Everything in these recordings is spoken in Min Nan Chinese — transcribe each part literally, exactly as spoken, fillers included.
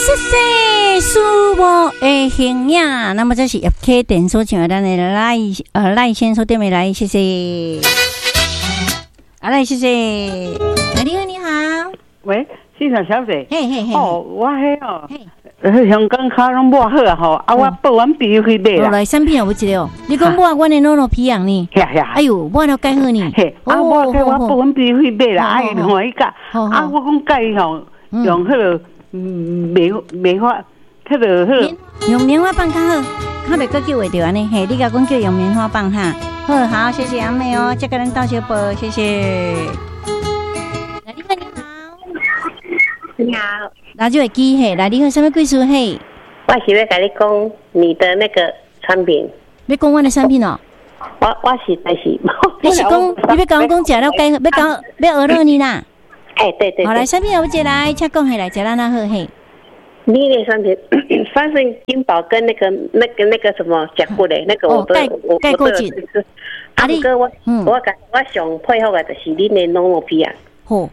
謝謝蘇無的形影。那麼這是葉啟典所唱的咱的賴呃賴先所點的來，謝謝。啊來，謝謝。來，你好，你好。喂，先生小姐。嘿嘿嘿。哦，我彼哦，香港跤攏抹好啊吼，啊我報阮朋友去買啦。來，產品有無一个哦？你講抹阮的諾諾皮揚呢？係係。哎喲，抹了蓋好呢。嘿，啊我我報阮朋友去買啦，啊伊歡喜甲，啊我講佮伊吼用彼个棉棉花，彼个彼个用棉花棒較好，較袂閣叫會著按呢。嘿，你共講叫用棉花棒哈。好，好，謝謝阿妹哦，這個人鬥相報，謝謝。來，你好，你好。你好。拿就會記嘿，來，你好，啥物貴事嘿？我是欲共你講你的那個產品。欲講阮的產品哦？我我實在是。你是講你欲共我講食了蓋，欲講欲學落呢啦？哎，對對。好來，產品有一來，請講起來，食咱哪好嘿？你的產品，三聖金寶跟那個、那個、那個什麼甲骨的，那個我都我我都有吃。啊，毋過我我我上佩服的就是恁的諾諾皮啊。好，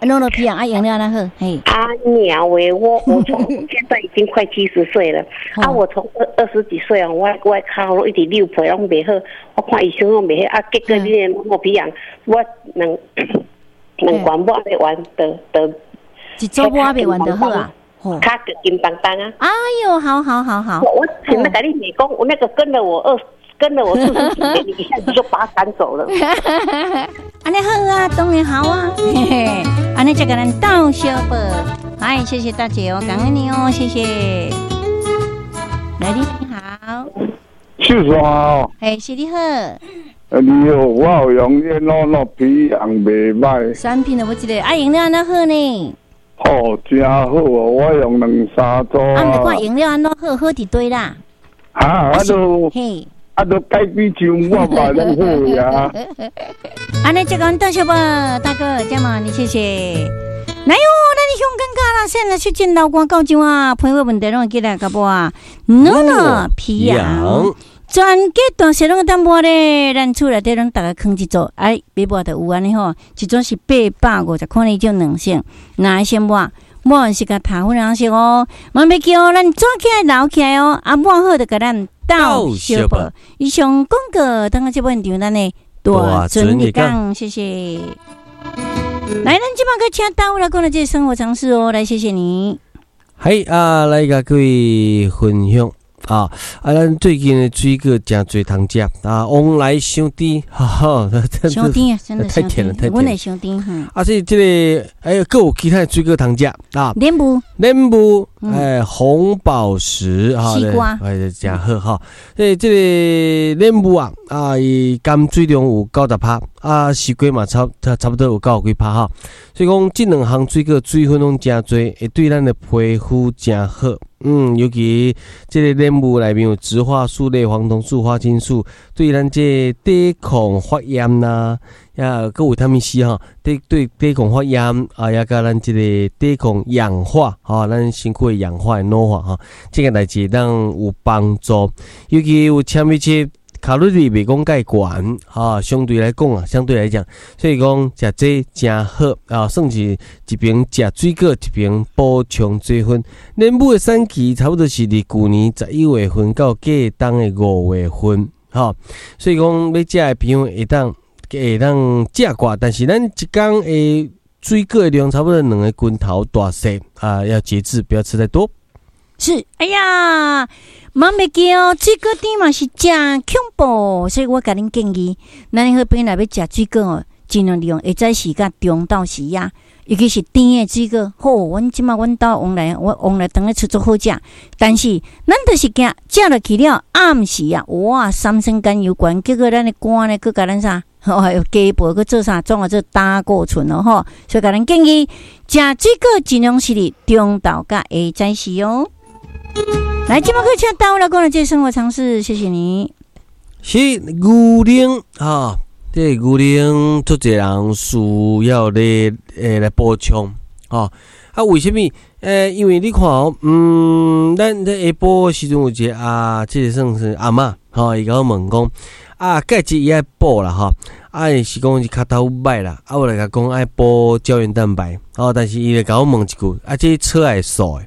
諾諾皮啊，啊用了哪好？嘿。啊娘喂，我我從現在已經快七十歲了，啊，我從二二十幾歲啊，我我跤攏一直扭皮攏袂好，我看醫生攏袂好，啊，結果恁的諾諾皮啊，我兩兩罐抹袂完，就就一組抹袂完就好啊。跤就緊繃繃啊！哎呦，好好好好！我我前面共你講，我那個跟了我二，跟了我四十幾年，你一下子就把他趕走了。按呢好啊，當然好啊，嘿嘿，按呢就共咱鬥相報。哎，謝謝大姐哦，感恩你哦，謝謝。來，你好。秀山哦。嘿，是你好。你好，我有用你諾諾皮揚袂䆀。產品都無一個，啊，用了按怎好呢？哦，真好哦！我用兩三組。啊，毋管用了按怎好，好佇佗啦。啊，啊都，嘿，啊都改變像我嘛攏好呀。按呢，這個多謝吧，大哥，這麼你謝謝。來喲，咱香港跤啦，現在出真流汗到這啊，皮膚問題攏會起來甲抹啊。諾諾皮揚，全家大細攏會當抹咧，咱厝內底攏逐家囥一組，哎，欲抹就有按呢吼，一組是八百五十塊呢種兩性，哪會先抹？抹完是共頭粉紅色哦，嘛袂記哦，咱抓起來留起來哦，啊抹好就共咱鬥相報。以上廣告，等下這本場咱的大尊日講，謝謝。來，咱這擺閣請大武來講的這個生活常識哦，來謝謝你。嘿啊，來共各位分享。啊！啊，咱最近的水果誠濟通食啊，往來傷甜，哈哈，傷甜啊，真的太甜了，太甜。阮會傷甜。啊，所以這個哎，閣有其他的水果通食啊，蓮霧，蓮霧，哎，紅寶石啊，西瓜，哎，誠好哈。所以這個蓮霧啊，啊，伊含水量有九十趴，啊，西瓜嘛差差差不多有九十幾趴哈。所以講，這兩項水果水分攏誠濟，會對咱的皮膚誠好。嗯，尤其這個蓮霧內面有植化素類、黃酮素、花青素，對咱這個抵抗發炎啦，也閣維他命 C 吼，對對抵抗發炎啊，也佮咱這個抵抗氧化，吼，咱身軀的氧化的老化吼，這個代誌當有幫助。尤其有纖維質，卡路里袂講蓋懸，哈，相對來講啊，相對來講，所以講食這誠好啊，算是一邊食水果，一邊補充水分。蓮霧的產期差不多是佇舊年十一月份到過冬的五月份，吼，所以講欲食的朋友會當會當食寡，但是咱一工的水果的量差不多兩個拳頭大細啊，要節制，不要吃太多。是，哎呀，嘛袂記哦，水果甜嘛是誠恐怖，所以我共恁建議，咱好朋友若欲食水果哦，盡量利用下早時佮中晝時啊，尤其是甜的水果。好，阮這擺阮兜往來，我往來當咧出足好食，但是咱就是驚食落去了，暗時啊，哇，三酸甘油懸，結果咱的肝呢，閣共咱啥？吼，加倍閣做啥？創啊做膽固醇咯吼，所以共恁建議，食水果盡量是佇中晝佮下早時哦。來，這擺閣請大武來講的這個生活常識，謝謝你。是牛奶啊，這個牛奶足濟人需要咧，欸來補充，吼。啊，為啥物？欸，因為你看哦，嗯，咱這下晡的時陣有一個啊，這個算是阿嬤，吼，伊共我問講，啊，鈣質伊愛補啦，吼，啊，伊是講是跤頭䆀啦，啊，我來共伊講愛補膠原蛋白，吼，但是伊就共我問一句，啊，這草會素的？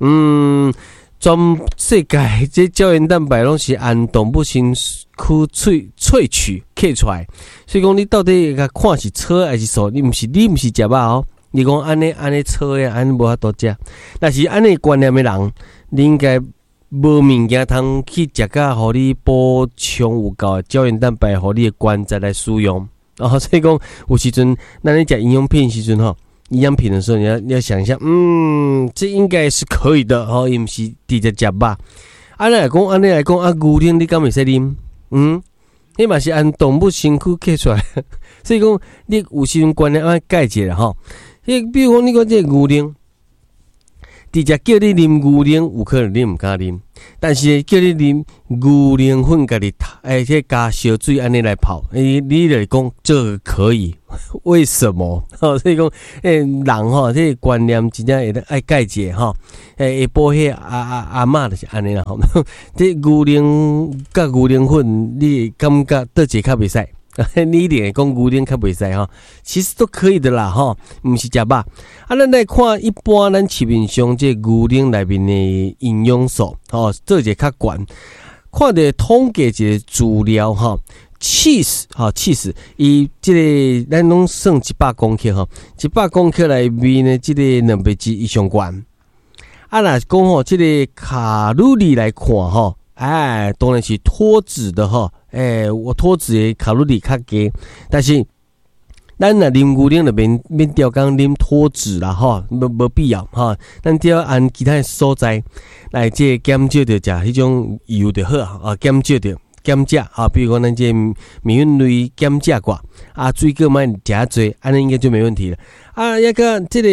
嗯，全世界這膠原蛋白攏是按動物身軀萃萃取萃出來，所以講你到底共看是草還是素？你毋是你毋是食肉哦。你講按呢按呢草的，按呢無法度食。若是按呢觀念的人，你應該無物件通去食甲，予你補充有夠的膠原蛋白，予你的關節來使用。哦，所以講有時陣，咱咧食營養品時陣吼，營養品的時候，你要你要想一下，嗯，這應該是可以的，吼，伊毋是直接食肉。按呢來講，按呢來講，啊，牛奶你敢會使啉？嗯，彼嘛是按動物身軀計出來，所以講你有時陣觀念愛改一下吼。你比如講，你講這個牛奶，直接叫你啉牛奶，有可能你毋敢啉。但是叫你啉牛奶粉，家己欸，這加燒水按呢來泡，欸，你就講這個可以？為什麼？吼，所以講，欸，人吼，這個觀念真正會愛改一下吼。欸，下晡彼阿阿阿嬤就是按呢啦吼。這牛奶佮牛奶粉，你會感覺佗一個較袂使？你一定會講牛奶較袂使吼，其實都可以的啦吼，毋是食肉。啊，咱來看一般咱市面上這牛奶內面的營養素，吼，做一個較懸。看著統計一個資料吼，cheese 吼 cheese，伊這個咱攏算一百公克吼，一百公克內面的這個蛋白質伊上懸。啊，若是講吼，這個卡路里來看吼，哎，當然是脫脂的吼。欸，我脫脂的卡路里較低，但是咱若啉牛奶就免免刁工啉脫脂啦吼，無無必要吼。咱只要按其他的所在來這減少著食彼種油就好啊，減少著減食啊，比如講咱這麵粉類減食寡啊，水果莫食遮濟，按呢應該就沒問題了。啊，抑閣這個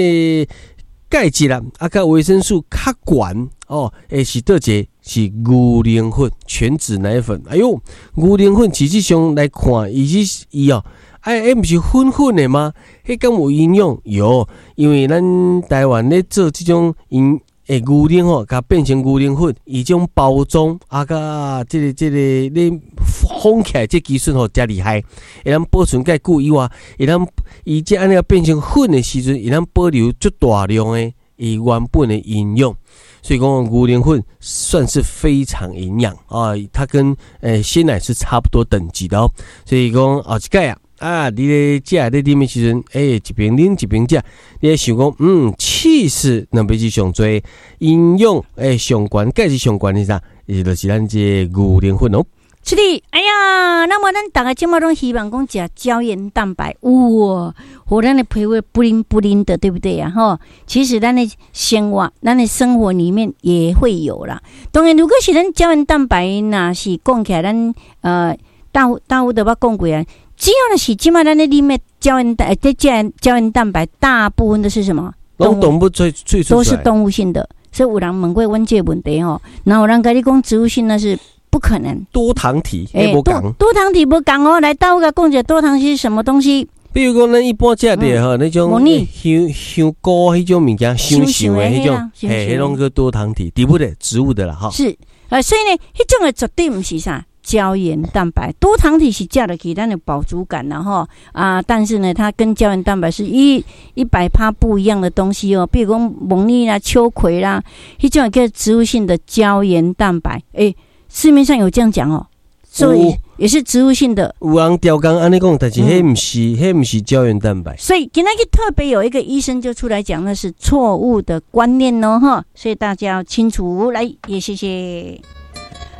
鈣質啦，啊，佮維生素較懸哦，欸，是佗一個是牛奶粉，全脂奶粉。哎喲，牛奶粉實際上來看，伊是伊哦，哎，欸，毋是粉粉的嗎？彼敢有營養？有，因為咱台灣咧做這種營欸牛奶吼，共變成牛奶粉，伊這種包裝啊，佮這個這個你封起來這技術吼誠厲害，會當保存較久以外，會當伊這按呢變成粉的時陣，會當保留足大量的伊原本的營養。所以講牛奶粉算是非常營養啊，它跟欸鮮奶是差不多等級的哦。所以講後一擺啊，啊，你咧食咧啉的時陣，欸，一邊啉一邊食，你會想講，嗯，起司蛋白質上濟，營養欸上懸，鈣質上懸的啥？伊就是咱這個牛奶粉哦。是的，哎呀，那麼咱逐家這馬攏希望講食膠原蛋白，哇，予咱的皮膚 bling bling 的，對不對呀？吼，其實咱的生活，咱的生活裡面也會有啦。當然，如果是咱膠原蛋白，若是講起來，咱呃大大有都捌講過啊。只要是這馬咱咧啉的膠原蛋，這膠膠原蛋白，大部分都是什麼？攏動物萃萃都是動物性的。所以有人問過阮這個問題吼，那有人共你講植物性，那是不可能。多糖體，欸，無仝。多糖體無仝哦，來，到我講者多糖體是什麼東西？比如講，咱一般食的吼，那種香香菇彼種物件，香香的彼種，嘿，彼種叫多糖體，植物的植物的啦，吼。是，呃，所以呢，彼種的絕對毋是啥膠原蛋白，多糖體是食落去咱有飽足感啦吼啊，但是呢，它跟膠原蛋白是一一百趴不一樣的東西哦。比如講木耳啦、秋葵啦，彼種叫植物性的膠原蛋白，欸，市面上有這樣講哦，所以也是植物性的。有人刁工按呢講，但是彼毋是，彼毋是膠原蛋白。所以今仔日特別有一個醫生就出來講，那是錯誤的觀念哦，哈，所以大家要清楚。來，也謝謝。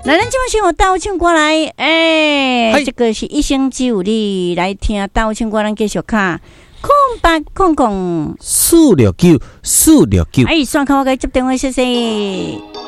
來，咱這馬先有豆唱歌來，欸，這個是一生只有你來聽豆唱歌，咱繼續卡空八空空四六九四六九。哎，刷卡我共你接電話，謝謝。